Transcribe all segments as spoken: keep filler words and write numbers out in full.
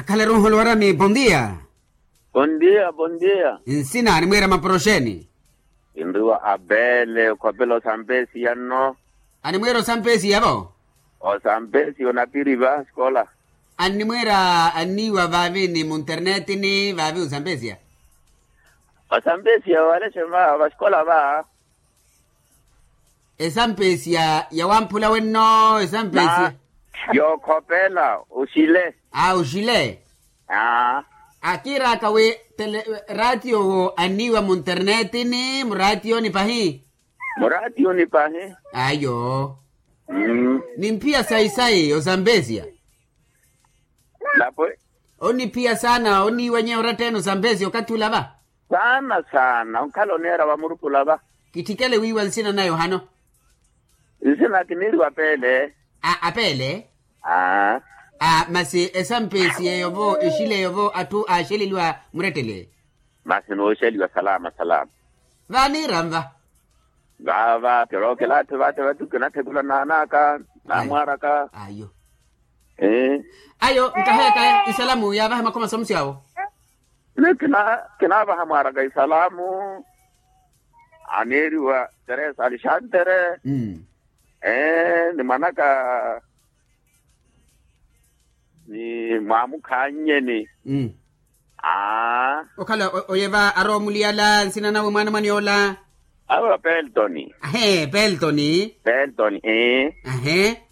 Khalaru nholo warami bondia. Bondia bondia. Nsina animwira maporoxeni? Kinriwa abele okhopela osampesiya nno. Animwira osampesiya vo? Osampesiya onapiri va sikola. Animwira anniwa vaavi ni munternetini vaavi osampesiya? Osampesiya wale xema va sikola va. Esampesiya yawamphula wenno esampesiya. Yookhopela oxile. A oxile. Aa. Akiiraka wi raatiyo wo anniiwa munternetini muraatiyoni pahi. Muraatiyoni pahi. Ayo. Nimphiya sayi-sayi osampesiya. Lapwe. Oniphiya saana oniiwa nyeya oratta-ene osampesiya okathi ula va. Saana saana onkhala oneera vamurupula va. Kitthikele wiiwa nsina naya ohano. Nsina kiniiriwa apeele. A apeele. Aa. A masi esampesiya eyo vo exila eyo vo atthu aaxeleliwa murettele. Masi nooxeliwa salama salama. Vaaniira nva. Vaava kirookela atthu vate vatu kinathekula naanaka naamwaaraka. Ayo. Ayo nkaheyaka isalamu yaavaha makhoma samusi awo. Ni kinaavaha mwaaraka isalamu. Aneeriwa teresa alexantere. Ni mwanaka ni mwaamukhannyeni. Aa. Okhala oyeva arowa omuliyala nsina nawe mwaana mwaniyoola. Awe peltoni. Ahe peltoni. Peltoni ee. Ahe.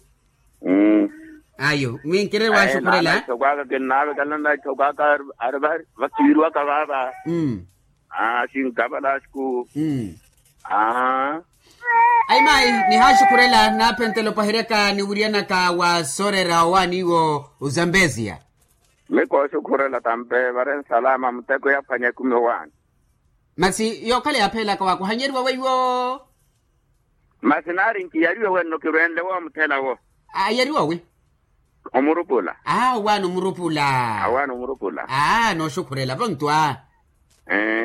Ayo mwi nkirerwa axukhurela. Ithoko aka kinnaavekelana na ithoko aka ari vakiwiriwaka vaava. Asinkavala asiku. Aa. Ayi mayi nihaaxukhurela naaphentela opaheryaka niwiriyanaka wa soorera owaani iwo. Ozambeziya. Miko oxukhurela tampe vare nsalama muteko yaphwanya ekumi owaani. Masi yookhala yaaphelaka wakuhanyeriwa weiwo. Masi naari nkiyariwe wenno kirwenle woomuthela wo. Ayariwa wi? Omurupula. Aa owaani omurupula. Awaani omurupula. Aa nooxukhurela vonto aa.